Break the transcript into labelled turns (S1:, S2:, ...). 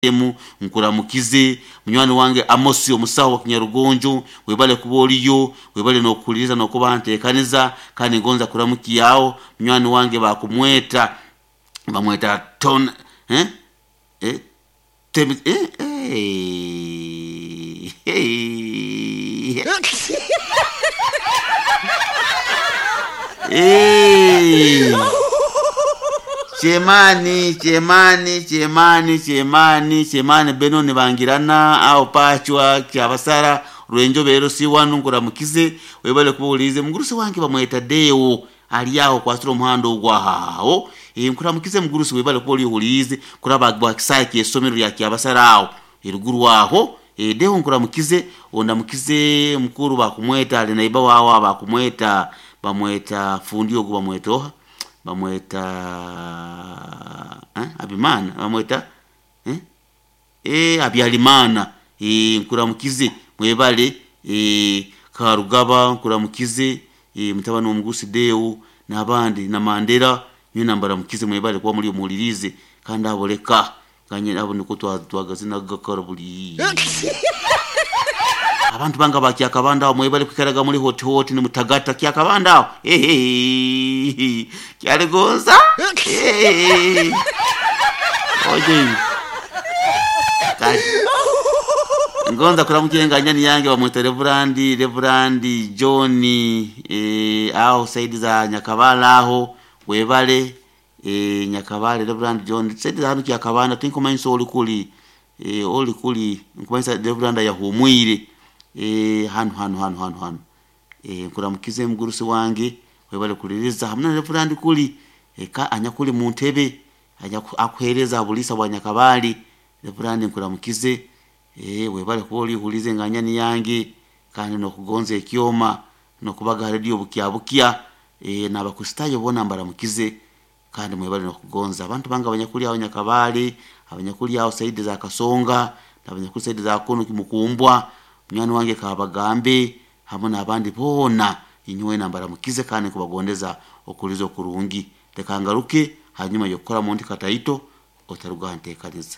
S1: Emu nkuramukize munywani wange Amosi omusawo wa Kinyarugonjo, webale kuba oliyo, webale n'okuhuliriza n'okuba nteekaniza, kandi ngonza kuramukyaho munywani wange bakumweta bamweta ton eh? Eh? Temi, eh? Eh? Eh? Eh. Chemani, chemani, chemani, chemani, chemani Benoni bangirana aho pachwa kyabasara rwenjobero si wanu nkuramukize webale kubuulize mugurusi wange bamweta Deo ali aho kwasira omuhanda ogwahaho nkuramukize mugurusi webale kuba olihuliize kuraba gwa kisaayi ky'essomero lya kyabasara aho eruguru aho. Deo nkuramukize ondamukize mukuru bakumweta ali naiba wawe bakumweta bamweta fundi ogu bamweta oha bamweta Abimana bamweta Habyarimana. Nkuramukize mwebale Karugaba nkuramukize mutabani w'omugurusi Deo n'abandi na Mandera nyowe mbaramukize mwebale kuba muri omuhulirize kandi abo leka kanye abo niko twagazina gakara buli abantu banga bakyakabanda aho mwebale kwikaraga muri hoti hoti ni mutagata kyakabanda aho kyaligonza oje kale ngonza kuramukiye nganyani yange bamwita Reverandi Reverandi John aho saidi za Nyakabala aho webale Nyakabale Reverandi John saidi za hanu kyakabanda tinkumanyisa oli kuli oli kuli nkumanyisa Reverandi yahumwire hanu hanu hanu hanu hanu nkuramukize mugurusi wange webale kuliriza hamwe na Reverandi kuli ka anyakuli mu ntebe akuhereza bulisa bwa Nyakabali Reverandi nkuramukize webale kuba olihulize nganyani yange kandi nokugonza ekyoma nokubaga radio bukya bukya n'abakristaayo boona mbaramukize kandi mwebale nokugonza abantu bange abanyakuli aho Nyakabali abanyakuli aho saidi za Kasonga n'abanyakuli saidi za kono Kimukumbwa munywani wange Kabagambe hamwe n'abandi boona inyowe nambaramukize kandi nkubagondeza okuliza okurungi. Leka ngaruke hanyuma y'okukora mundi kataito otaruga nteekaniza.